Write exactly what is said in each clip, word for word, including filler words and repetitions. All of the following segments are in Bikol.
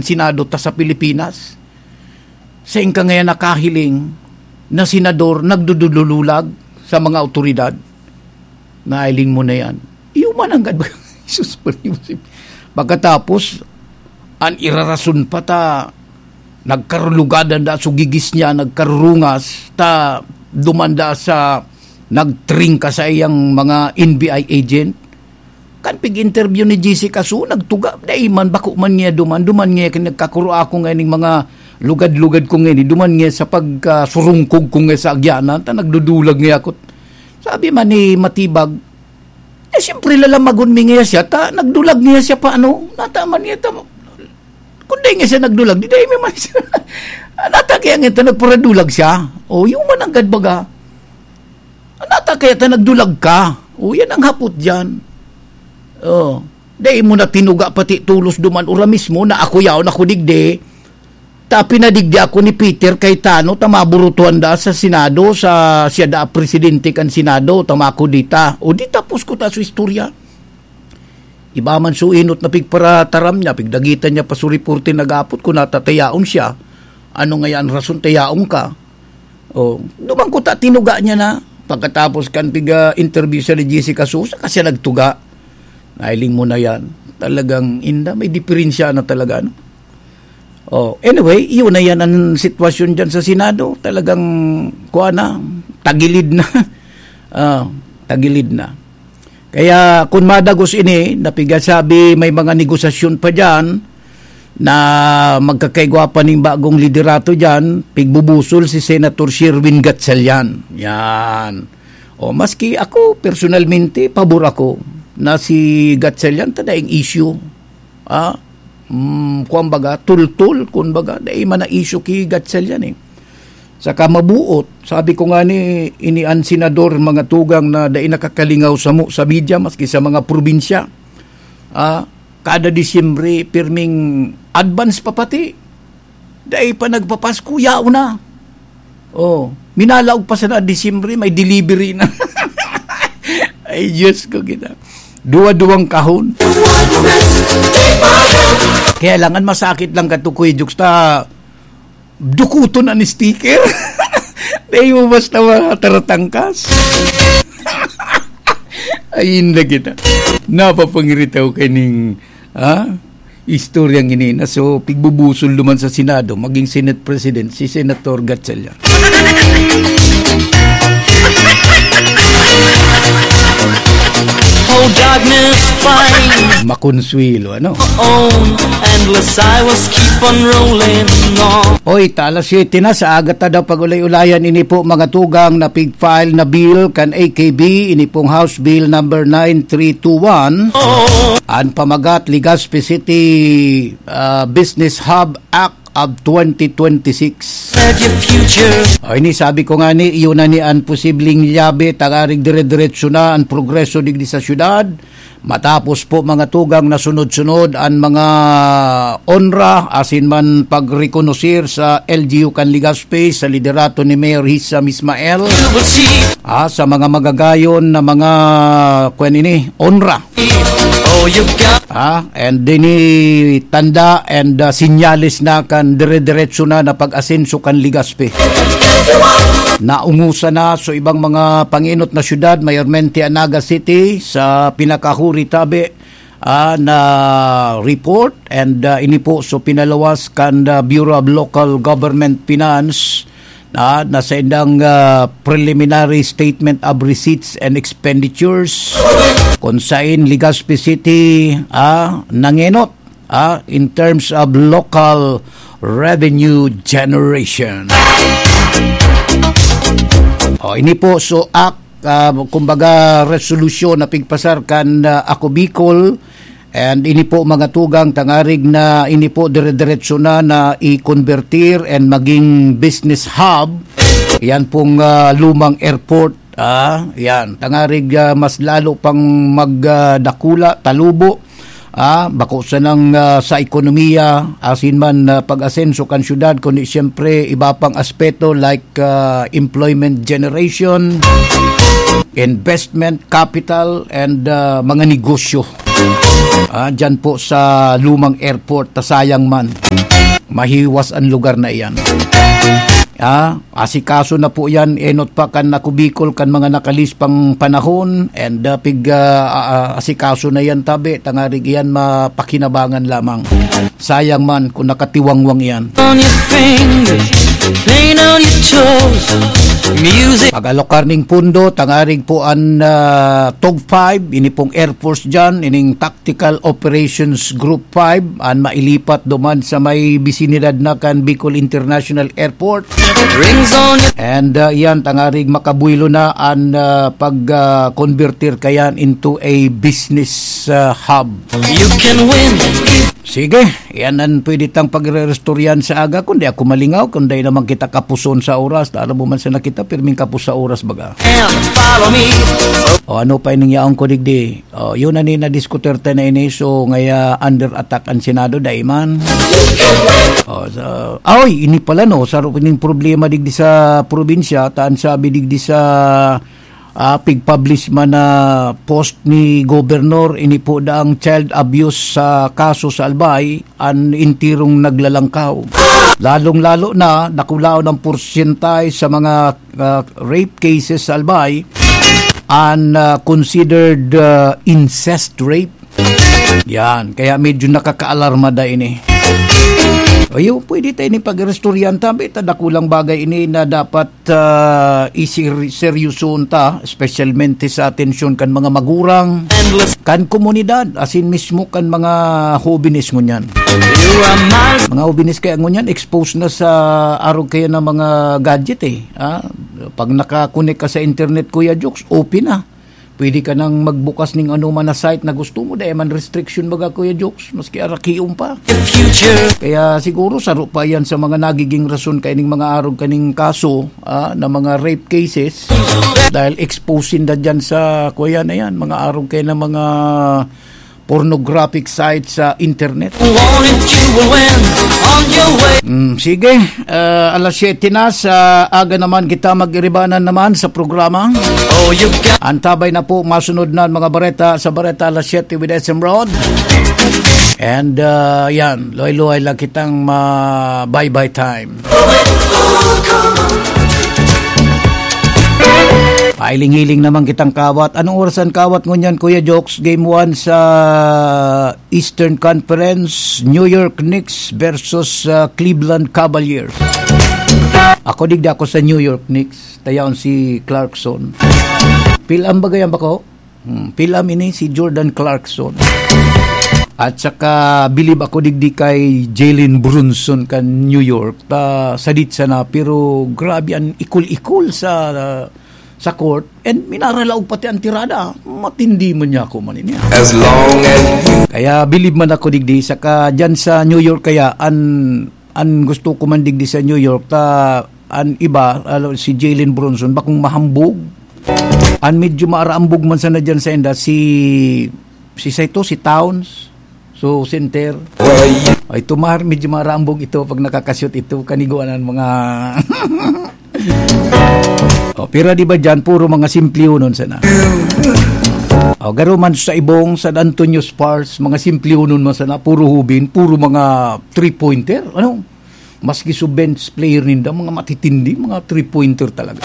Senado ta sa Pilipinas. Sain ka ngayon nakahiling na senador nagdudululag sa mga awtoridad? Nailing mo na yan. Iyo man ang gad-, Jesus, pagkatapos, an irarason pa ta, nagkarulugadan da so gigis niya, nagkarurungas, ta dumanda sa nagtring ka sa iyang mga N B I agent. Kan pig-interview ni Jessica Su, nagtuga, dai man, bako man niya duman, duman niya kin-, nagkakuro ako ngayon ng mga lugad-lugad ko ngayon, duman niya sa pagkasurungkog ko ngayon sa agyanan, ta nagdudulag niya ako. Sabi man ni Matibag, eh, siyempre, lalamagon mi niya siya, ta nagdulag niya siya pa, ano, nataman niya, ta, kung di nga siya nagdulag, di dai mi man siya. Nata kaya nga ito, nagparadulag siya. O, yung mananggad baga. Nata kaya ta nagdulag ka. O, yan ang hapot dyan. O, dai mo na tinuga pati tulos duman ura mismo na ako yaon ako digdi. Ta pinadigdi ako ni Peter Cayetano, ta maburutuhan da sa Senado, sa siya da presidente kan Senado, ta mako dita. O, di tapos ko ta sa istorya. Iba man so inot na pigparataram niya, pigdagitan niya pa so reporte nag-apot kung natatayaon siya. Ano nga yan rason tayaon ka? O, duman ko ta tinuga niya na. Pagkatapos kan piga-interview siya ni Jessica Sosa, kasi nagtuga. Nailing mo na yan. Talagang inda, may diferensya na talaga, no? Oh, anyway, iyon na yan ang sitwasyon dyan sa Senado. Talagang, kuha na, tagilid na. Ah, tagilid na. Kaya, kung madagos ini, napigasabi, may mga negosasyon pa dyan na magkakaigwa pa ning bagong liderato dyan, pigbubusol si Senator Sherwin Gatchalian. Yan. O, maski ako, personalmente, pabor ako na si Gatchalian, ta daing issue. Ah, mm, kuwan baga, tultul, kun baga, dai man na issue ki Gatchalian eh. Saka mabuot, sabi ko nga ni, ini an senador, mga tugang na dai nakakalingaw samo sa media, maski sa mga probinsya. Ah, kada Disyembre, pirming advance pa pati. Dai pa nagpapasko, yaon na. Oh, minalaog pa sana Disyembre, may delivery na. Ay, Diyos ko, kita. Duwa-duwang kahon. Kaya lang, ang masakit lang kato, Kuya Jokes, ta dukuton an sticker. Dai mo basta mataratangkas. Ay, hindi kita. Napapangiritaw ka ning, ha? Istoryang ini na so pigbubusol duman sa Senado, maging Senate President, si Senator Gatchalian. Oh, darkness fine. Makonsuelo, ano? Own, endless I was keep on rolling on. Oy, ta alas siyete na, sa aga ta daw pag-ulay-ulayan, ini po mga tugang na pig-file na bill kan A K B, ini pong House Bill number nine three two one. Oh. An pamagat, Legazpi City, ah, Business Hub Act of twenty twenty-six. Set your future. O, ini sabi ko nga ni, iyon na ni an posibleng lyabe, tangarig dire-diretso na an progreso digdi sa syudad. Matapos po mga tugang na sunod-sunod an mga onra, asin man pagrekonosir sa L G U kan Legazpi sa liderato ni Mayor Hisham Ismael. You will see. Ah, sa mga magagayon na mga, kwan ini, onra. Oh, you got. Ah, and dini tanda and, ah, sinyales na kan dire-diretso na na pag-asenso kan Legazpi. Naungusan na so ibang mga panginot na syudad, mayormente an Naga City, sa pinakahuri tabi, ah, na report, and, ah, ini po so pinaluwas kan, ah, Bureau of Local Government Finance, ah, na sa indang, ah, preliminary statement of receipts and expenditures, kung sain Legazpi City, ah, nangenot, ah, in terms of local revenue generation. O, ini po so act, ah, kumbaga, resolusyon na pigpasar kan, ah, Ako Bicol, and ini po mga tugang tangarig na ini po dire-diretso na na i-convertir and maging business hub. Yan pong, ah, lumang airport. Ah, yan. Tangarig, ah, mas lalo pang mag, ah, dakula, talubo. Ah, bako sanang, ah, sa ekonomiya, asin man, ah, pag-asenso kan syudad, kundi siyempre iba pang aspeto like, ah, employment generation, investment, capital, and, ah, mga negosyo. Ah, dyan po sa lumang airport, ta sayang man. Mahiwas ang lugar na iyan. Ah, asikaso na po yan, enot pa kan Ako Bicol, kan mga nakalispang panahon, and, ah, pig, ah, ah, ah, asikaso na yan, tabi, tangarig iyan mapakinabangan lamang. Sayang man kung nakatiwangwang iyan. On your fingers, paint on your toes. Music. Pag-alokar ning pundo, tangarig po an, ah, tog five, ini pong Air Force dyan, ining Tactical Operations Group five, an mailipat duman sa may bisinidad na kan Bicol International Airport. Rings on your And, ah, iyan, tangarig makabuelo na an, ah, pag, ah, converter kayan into a business, ah, hub. You can win. Sige, yan ang pwede tang pagre-restoryahan sa aga. Kundi ako malingaw, kundi naman kita kapuson sa oras. Tara mo man sana kita, pirming kapos sa oras, baga. And follow me. O ano pa ining yaon ko digdi? O, yun na ni nadiskutir ta na ini. So, ngaya under attack ang Senado, daiman. O, sa, ay, ini pala, no? Sa ining problema digdi sa probinsya, taan sabi digdi sa ah, pig-publish man na post ni Gobernador, ini po daang child abuse sa kaso sa Albay, an intirong naglalangkaw. Lalong-lalo na, dakulaon ang porsyentay sa mga, ah, rape cases sa Albay, an, ah, considered, ah, incest rape. Yan, kaya medyo nakakaalarma da ini. Ayo, pwede tayo ni pag-restoryahan tabi, ta dakulang bagay ini na dapat, ah, isir-, seryosohon ta, espesyalmente sa atensyon kan mga magurang, kan komunidad, asin mismo kan mga hobenes ngunyan. Mga hobenes kaya ngunyan, exposed na sa arog kaya na mga gadget eh. Ah, pag nakakonek ka sa internet, Kuya Jokes, open na. Pwede ka nang magbukas ning anoman na site na gusto mo, dai man restriction baga, Kuya Jokes, maski arakion pa. Kaya siguro saro pa yan sa mga nagiging rason kaining mga arog kaning kaso, ah, na mga rape cases. Dahil exposing na dyan sa, kuya na yan, mga arog kayo na mga pornographic site sa internet. Want it, you will win on your way. Mm, sige, ah, alas siyete na sa aga naman kita mag-iribanan naman sa programa. Oh, you got Antabay na po, masunod na ang mga bareta sa Bareta Alas Siyete with S M Rod. And, ah, yan, luhay-luhay lang kitang ma-bye-bye time. Pailing-hiling naman kitang kawat. Anong oras ang kawat ngunyan, Kuya Jokes? Game one sa Eastern Conference, New York Knicks versus, ah, Cleveland Cavaliers. Ako, digdi ako sa New York Knicks. Tayaon si Clarkson. Pilam ba gayam bako? Hmm, pilam ini si Jordan Clarkson. At saka, bilib ako digdi kay Jalen Brunson kan New York. Ta, sadit sana, pero grabe ang ikol-ikol sa, ah, sa court. And minaralaog pati ang tirada. Matindi man niya ako man ini, ah. As long as you Kaya bilib man ako digdi. Saka dyan sa New York kaya, an, an gusto ko man digdi sa New York, ta, an iba, alo, si Jalen Brunson, bakong mahambog. An medyo maarambog man sana dyan sa inda, si, si Saito, si Towns. So, center. Ay, ito mar-, medyo marambog ito pag nakakashoot ito. Kaniguan ang mga Oh, pero di ba dyan, puro mga simplionon sana. Oh, garo man sa Ibong, San Antonio Spurs, mga simplionon man sana, puro hubin, puro mga three-pointer. Ano? Maski so bench player ninda, mga matitindi, mga three-pointer talaga.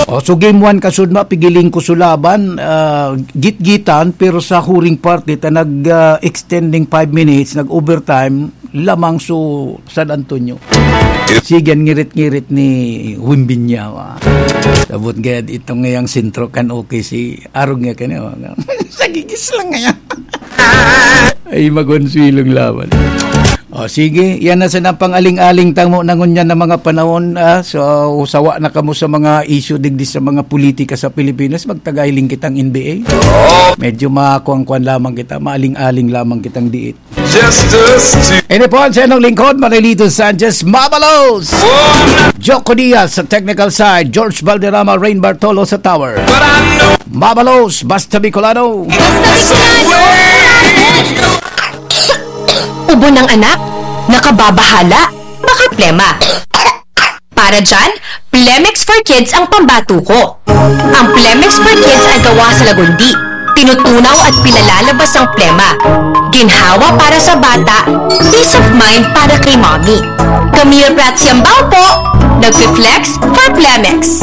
Oh, so game one, kasud na, pigiling ko so laban, ah, gitgitan, pero sa huring parte, ta nag, ah, extending five minutes, nag-overtime, lamang so San Antonio. Sige, an ngirit-ngirit ni Wimbinyawa. Sabot gayad itong ngayang sentro kan O K C. Arog nga kanya, mga. Sagigis lang ngayon. Ay, magonsilong laban. O, sige, yan na sana pang-aling-aling tamo na ngunyan na mga panahon, ah. So, sawa na kamo sa mga issue digdi sa mga politika sa Pilipinas, magtagay lang kitang N B A. Medyo makuang-kuan lamang kita, maaling-aling lamang kitang diit. Just us two. Ini po ang sa inyong lingkod, Marilito Sanchez, Mabalos! Joko Diaz sa technical side, George Valderrama, Rain Bartolo sa tower. But I know Mabalos, basta Bicolano! Basta Bicolano! Ubo ng anak? Nakababahala? Baka plema. Para dyan, Plemex for Kids ang pambato ko. Ang Plemex for Kids ay gawa sa lagundi, Tinutunaw at pinalalabas ang plema. Ginhawa para sa bata, peace of mind para kay mommy. Camille Prats Yambao po, nagpi-flex for Plemex.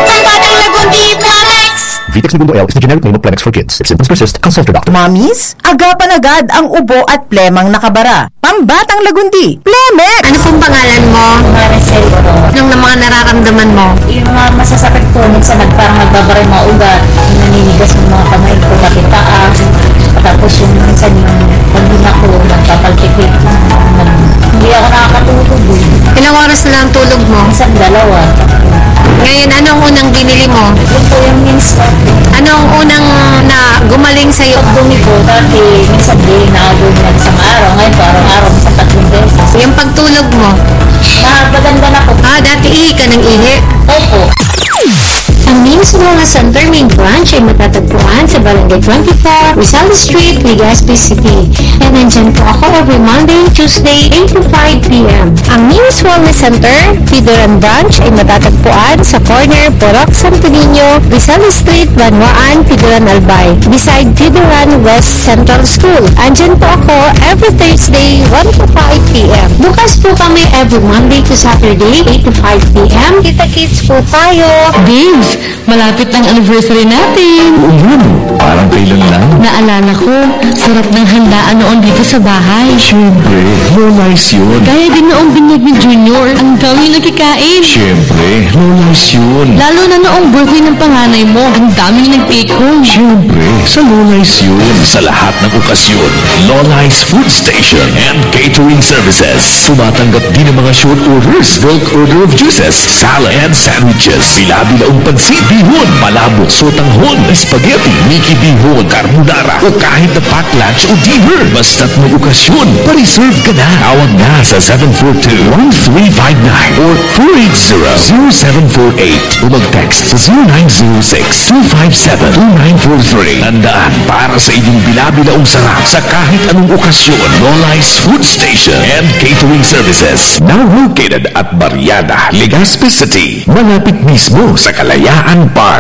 Ang batang lagundi, Plemex! Vitex Negundo L is the generic name of Plemex for kids. If symptoms persist, consult your doctor. Mommies, agapan agad ang ubo at plemang nakabara. Pambatang lagundi, Plemex! Ano pong pangalan mo? Maricel Oro. Anong na mga nararamdaman mo? Yung mga masasakit po, minsan nag-, parang nagbabara yung mga ugat, naninigas yung mga kamay ko, pati paa. Tapos yung minsan yung pag-inom ko, nagpapalpitate. Hindi ako nakakatulog eh. Ilang oras na lang tulog mo? Minsan dalawa. Ngayon, anong unang binili mo? Yun po yung minsan. Anong unang na gumaling sa'yo? Pag bumi ko, dati minsan di naabot ng isang araw. Ngayon po, araw-araw, minsan tatlong beses. Yung pagtulog mo? Maganda na po. Ah, dati ihi ka ng ihi? Opo. Ang Nims Wellness Center main branch ay matatagpuan sa Barangay twenty-four, Rizal Street, Legazpi City. And nandyan po ako every Monday, Tuesday, eight to five p m. Ang Nims Wellness Center, Pidoran Branch, ay matatagpuan sa corner Purok Santo Niño, Rizal Street, Banwaan, Pidoran Albay, beside Pidoran West Central School. Andyan po ako every Thursday, one to five p m. Bukas po kami every Monday to Saturday, eight to five p m. Kita-kits po tayo. Babes, malapit ang anniversary natin. Oo nga, no? Parang kailan lang. Naalala ko, sarap ng handaan noon dito sa bahay. Siyempre, Lola's yun. Kaya din noong binyag ni Junior, ang dami nagkikain. Siyempre, Lola's yun. Lalo na noong birthday ng panganay mo, ang daming nag-take home. Siyempre, sa Lola's yun. Sa lahat ng okasyon, Lola's Food Station and Catering Services. Tumatanggap din ng mga short orders, bulk order of juices, salad, and sandwiches. Bila-bilaong pansit, bihon, palabok, sotanghon, spaghetti, miki bihon, carbonara, o kahit na pack lunch o dinner. Basta't may okasyon, pa-reserve ka na. Tawag na sa seven four two, one three five nine or four eight zero, zero seven four eight o mag-text sa zero nine zero six, two five seven, two nine four three. Tandaan, para sa inyong bila-bilaong sarap sa kahit anong okasyon, Lola's Food Station and Catering Services. Now located at Barriada, Legazpi City, malapit mismo sa Kalayaan Park.